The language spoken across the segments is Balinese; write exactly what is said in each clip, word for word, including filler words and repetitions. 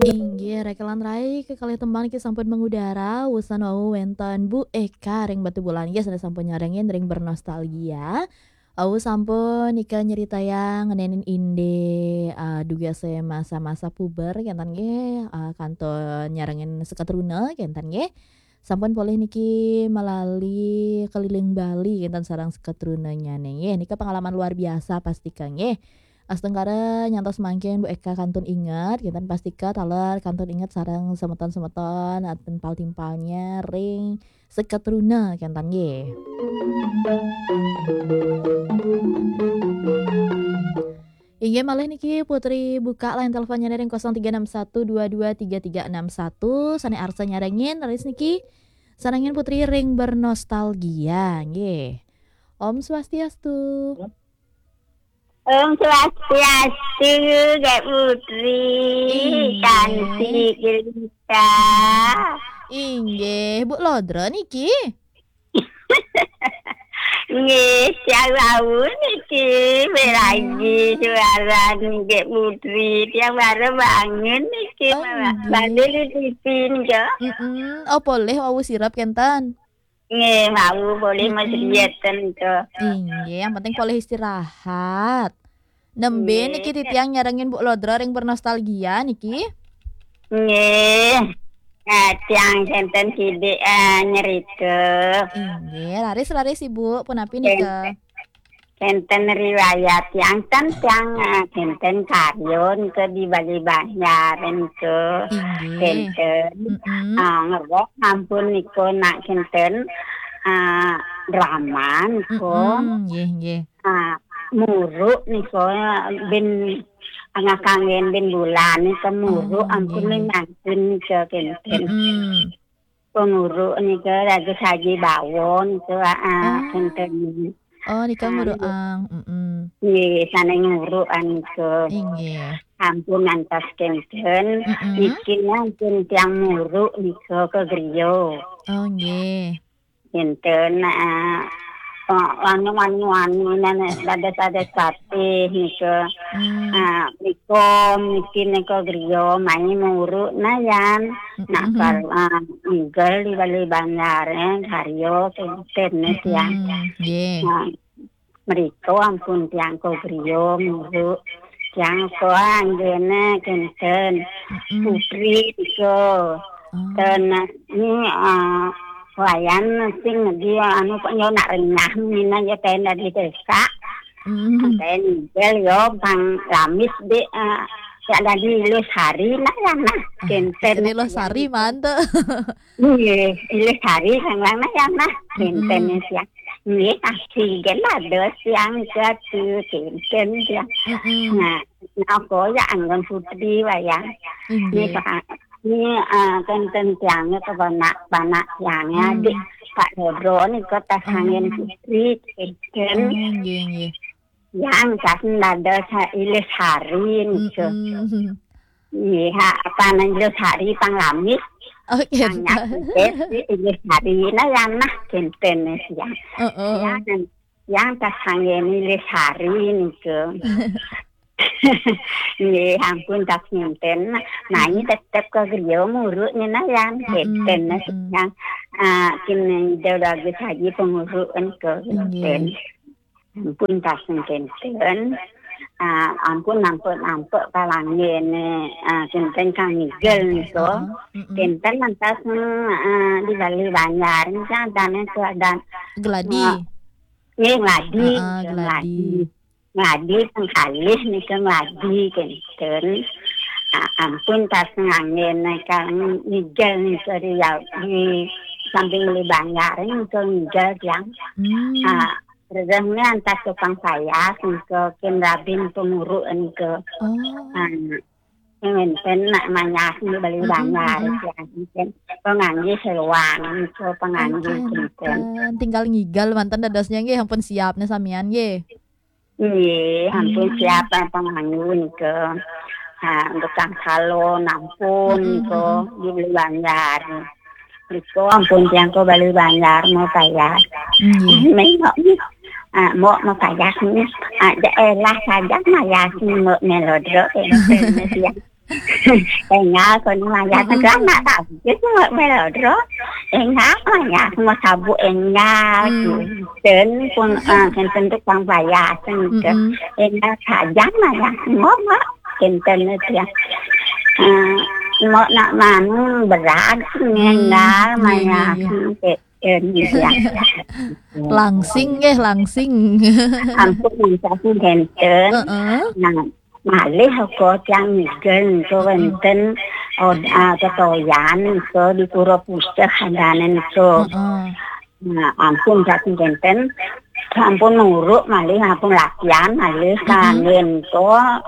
Inggih, reka lan rai kekalih tembang niki sampun mengudara, wusan wau wénten Bu Eka ring Batubulan nggih, sané sampun nyarengin ring Bernostalgia. Wau sampun nika nyeritayang ngenénin indik, eh, dugasé masa-masa puber kénten nggih, eh, kantun nyarengin seketruna kénten nggih. Sampun polih niki malali keliling Bali kénten sareng seketrunanyané nggih. Nika pengalaman luar biasa pastika nggih. Astungkara nyantos mangkin Bu Eka kantun inget, kénten pastika taler kantun inget sareng semeton-semeton, eh, timpal-timpalnya ring seketruna kénten nggih. Inggih malih niki Putri buka line teleponnya ring kosong tiga enam satu dua dua tiga tiga enam satu. Sané arsa nyarengin raris niki. Sarengin Putri ring Bernostalgia nggih. Om Swastiastu. Om Swastiastu, Kak Putri. Inggih. Cantik jelita. Inggih, Bu Lodra niki. Nggih, tiang wau niki, melagi suara nggih Putri. Tiang baru bangun niki, oh, malah nggih. Balik di T V niki. Mm-mm. Oh, polih wau sirep kénten. Nggih, wau polih. Mm-mm. Masih biasa niki. Inggih, yang penting polih istirahat. Nembé nggih. Niki titiang nyarengin Bu Lodra ring Bernostalgia niki. Nggih. Eh, tiang kénten sidik, eh, nyerita. Inggih, raris-raris Ibu, punapi nika? Kénten, kénten riwayat tiang ten tiang, eh, kénten karya nika di Bali Banjar nika. Inggih. Kénten, mm-mm, eh, ngerok sampun nika nak kénten, eh, drama nika. Mm-mm, nggih, nggih. Ah, muruk nika, bin, angah kanggén bin bulan nika muruk, oh, ampun nggih, nggih, mangkin nika kénten. Mm-mm. Penguruk nika lagi saji bawon nika, ah, oh, kénten. Oh, nika, ah, nguruk nggih. Ang. Mm-mm. Nggih, sané nguruk nika. Inggih. Ampun antas kénten, mm-mm, niki ampun tiang muruk nika ka griya. Oh, nggih. Kénten, eh, eh, anu, anu, anu, nana, dados-dados patih nika. Hmm. Eh, nika, niki nika griya, mai muruk nayan. Nak, mm-mm, kal-, eh, nigel di Bali Banjar, eh, karya kénten, eh, tiang. Mm-mm. Nggih. Nah, mrika ampun tiang ka griya muruk. Tiang ka anggéné kénten. Mm-mm. Putri nika. Oh. Ten, ni, ah, wayan sing di anu kok yo nak renyah mina yo ten dari desa. Mm. Ten nigel yo pang lamis di, ah, ya dari Ilusari nah ya nah. Ah, kénten. Ilusari mantep. Nggih, Ilusari kang lanang ya nah. Mm-mm. Kénten siang. Nggih, asli gen dados siang jatuh kénten siang. Mm-mm. Nah, napa ya anggon Putri wayang. Inggih. Nggih, Pak. Nggih, eh, kénten tiangnya kebenak-benak tiangnya, mm, di Pak Dodro nika tas angin, oh, Putri kénten. Oh, nggih, nggih. Yang tas dados Ilusari nika. Mm-mm. Nggih, ha, apa nang Ilusari pang lamis. Oke. Pang nyakitis, Ilusari nah ya nah kénten siang. Heeh. Yang, yang tas angin Ilusari nika. Nggih, ampun tas ngenten. Nah, ini, mm-mm, tetep ka griya muruk nyenayan. Mm-mm, kénten, mm-mm, yang, ah, kene jauh lagi saji penguruk nika. Inggih. Kénten. Ampun tas ngenten. Ah, ampun nampek-nampek kalanggene, ah, kénten kang nigel nika. Heeh, mm-mm. Kénten lantas, mm, ah, di Bali Banjar nika adane keadaan. Geladi. Ah, nggih, Ngladi, heeh, nika Ngladi. Ngladi. Ngladi pengkalih nika Ngladi kénten. Ah, ampun tas nganggen kang nigel nika di, di samping Bali Banjar nika nigel tiang. Hmm. Ah, rerehne antas tukang payas nika kin rabin penguruk nika. Oh. Ah, ngenten nak mayas di Bali, mm-mm, Banjar, mm-mm, tiang nika pengangge seluan nika pengangge, oke, kinten. Nenten. Tinggal ngigal manten dadosnya nggih, ampun siapne samian nggih. Nggih, ampun, hmm, siap pengangge nika. Ha, tukang salon ampun, mm-mm, nika, mm-mm, di Bali Banjar. Nika ampun tiang ka Bali Banjar mau payas. Nggih. Mengok ni. Ah, mbok mapayas ni. Ah, daerah saja mayas ni mbok melodra, eh, ya. Enggak, kono mayas. Mm-mm. Kan nak tak, itu mbok melodra. Enggak, mayas, mau sabuk enggak. Hmm. Kinten pun, ah, kinten tu kang payas, gitu. Mm-mm. Enggak saja mayas, mbok, mbok. Kinten itu ya. Ah, mbok nak manu berat, enggak, hmm, iya, iya, mayas, iya. Kinten, gitu ya. Langsing nggih, langsing. Ampun, sampun kinten. Heeh. Nah, malih uga tiang ngigel nika wenten, oh, ah, totoyan nika di Pura Puseh andane nika. Heeh. Nah, ampun sampun kinten. Sampun nuruk malih, ampun latihan malih. Mm-mm. Kangge nika,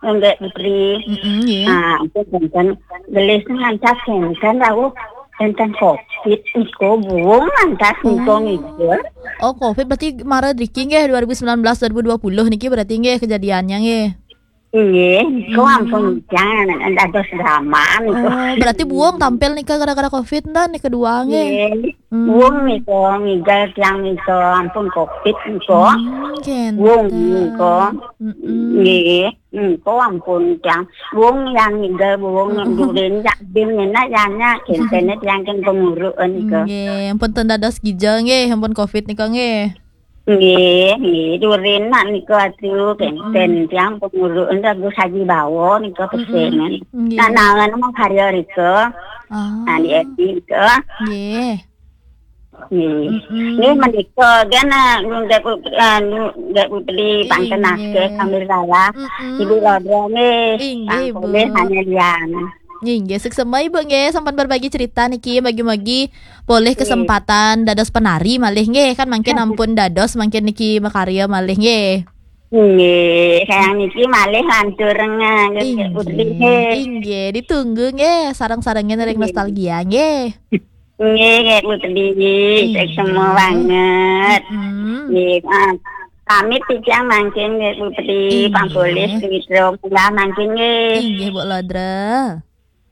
Nggih, Putri. Mm-mm, nggih. Nah, ampun kinten. Gelis ngancas kinten rawuh enten covid nika, buung ngancas nika. Oh. Nggih. Oh, covid berarti mara driki nggih, dua ribu sembilan belas, dua ribu dua puluh niki berarti nggih kejadiannya nggih. Nggih, nika, hmm, ampun, jangan dados drama nika. Oh, berarti buung tampil nika gara-gara covid ndak nika dua nggih? Nggih. Hmm. Buung nika, ngigel tiang nika, ampun covid nika. Hmm, kinten. Buung nika. Mm-mm. Nggih, nika ampun tiang. Buung yang ngigel, buung yang, mm-mm, durin, yak bin, ngenak, yanyak, kintene tiang ken penguruk nika. Nggih, ampun ten dados gija nggih, ampun covid nika nggih. Nggih, nggih, durin nak nika atu, kinten, mm-mm, tiang penguruk nika Gus Haji Bawa nika, mm-mm, pesengan. Nggih. Nah, nangan mau karya nika. Ah. Nah, di Edi nika. Nggih. Nggih. Mm-mm. Nggih, menika kan, ah, Nggih Pu-, ah, Nggih Putri, panten, inggih, akeh sambil salah. Mm-mm. Ibu Lodra nggih. Inggih, Bu. Pang polih hanya lian. Inggih, suksma Ibu nggih, sampun berbagi cerita niki, bagi-bagi polih, nggih, kesempatan dados penari malih nggih, kan mangkin ampun dados mangkin niki makarya malih nggih. Nggih, sayang niki malih lantur nggih, Nggih Putri nggih. Inggih, ditunggu nggih, sareng-sarengin ring, nggih, nostalgia nggih. Nggih, nggih, Putri. Nggih. Suksma banget. Mm-mm. Nggih, ah, pamit titiang mangkin, nggih, Putri. Nggih. Pang polih, Putri. Mula mangkin, nggih. Inggih, Bu Lodra.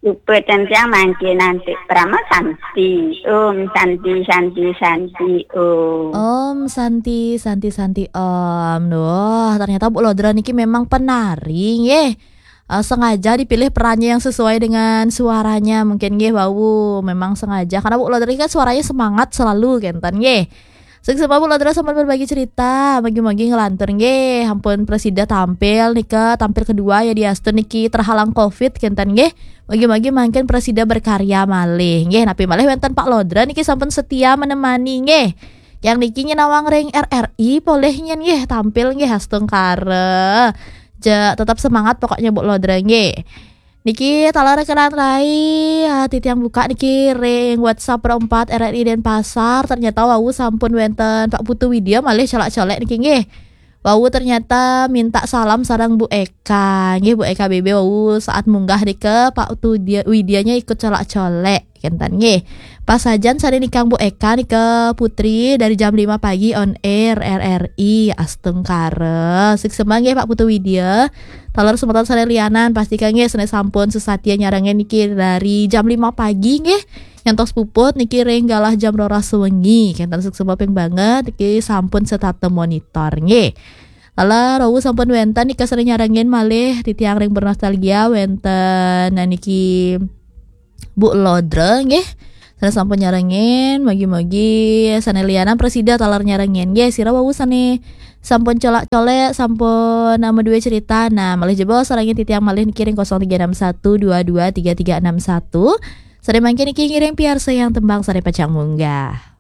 Upeten tiang mangkin anti Parama Santi. Om Santi, Santi, Santi, Om. Om Santi, Santi, Santi, Om. Duh, ternyata Bu Lodra niki memang penari, nggih. Eh, sengaja dipilih perannya yang sesuai dengan suaranya. Mungkin nggih wau memang sengaja karena Bu Lodra kan suaranya semangat selalu kenten nggih. Suksma Bu Lodra sampun berbagi cerita, mugi-mugi ngelantur nggih. Ampun prasida tampil nika, tampil kedua ya diastun niki terhalang covid kenten nggih. Mugi-mugi mangkin prasida berkarya malih nggih. Napi malih wenten Pak Lodra niki sampun setia menemani nggih. Yang niki nyinawang ring R R I polih nyen nggih, tampil nggih astungkara. Ja, tetap semangat pokoknya Bu Lodra nggih. Niki taler kenan rai, ah, titiang buka niki ring WhatsApp Pro empat R R I Denpasar, ternyata wau sampun wenten Pak Putu Widya malih colak-colek niki nggih. Wau ternyata minta salam sareng Bu Eka. Nggih, Bu Eka B B wau saat munggah nika Pak Putu Widya-, Widyanya ikut colak-colek. Kenten nggih. Pasajan sare nikang Bu Eka nika Putri dari jam lima pagi on air R R I astungkara. Suksma nggih Pak Putu Widya. Taler semeton sare lianan pastikan nggih sane sampun sesatia nyarengin niki dari jam lima pagi nggih. Nyantos puput niki ring galah jam roras wengi. Kenten suksma ping banget niki sampun setata monitor nggih. Taler wau sampun wenten nika sare nyarengin malih titiang ring bernostalgia wenten niki Bu Lodra nggih. Sane sampun nyarengin, mugi-mugi sane lianan prasida taler nyarengin nggih. Sira wau sane sampun colak-colek, sampun, eh, madue cerita. Nah, malih jebos sarengin titiang malih niki ring kosong tiga enam satu dua dua tiga tiga enam satu. Sare mangkin niki ngiring piarsayang tembang sare pacang munggah.